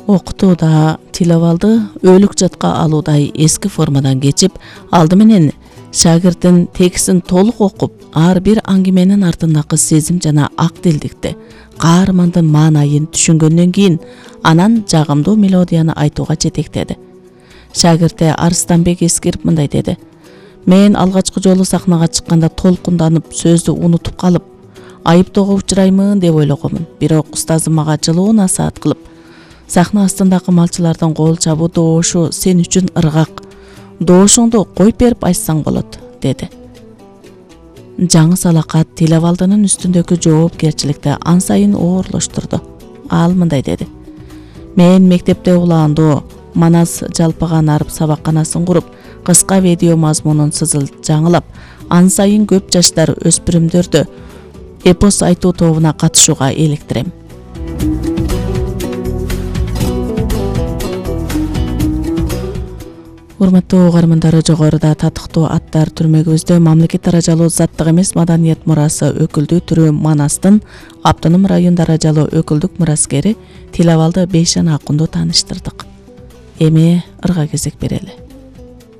Окутууда тил абалды өлүк жатка алуудай эски формадан кечип, алды менен шагирттин текстин толук окуп, ар бир аңгеменин артындагы сезим жана актилдикти, каармандын маанайын түшүнгөндөн кийин, анан жагымдуу мелодияны айтууга жетектеди. Шагирти Арыстанбек Эскирип мындай деди: "Мен алгачкы жолу сахнага чыкканда толкунданып, сөздү унутуп калып, айыптоого учураймын деп ойлогомун. Бирок устазым мага жылуу насаат кылып, сахна астындагы малчылардын кол чабуу доошу сен үчүн ыргак. Доошуңду коюп берип айтсаң болот", деди. Жаңы салакат тил абалдынын үстүндөгү жоопкерчиликти ан сайын оорлоштурду. Ал мындай деди: "Мен мектепте улаандуу Манас жалпыган арып сабакканасын куруп, кыска видео мазмунун жаңылап, ан сайын көп жаштар өспүрүмдөрдү эпос айтуу тобуна катышууга электирем". Урматтуу угармандары, жогоруда татыктуу аттар түрмөгүбүздө мамлекет даражалуу заттык эмес маданият мурасы өкүлдүү түрү Манастын автоном район даражалуу өкүлдүк мураскери Тил абалды Бейшан Акунду тааныштырдык. Эми ырга кезек берели.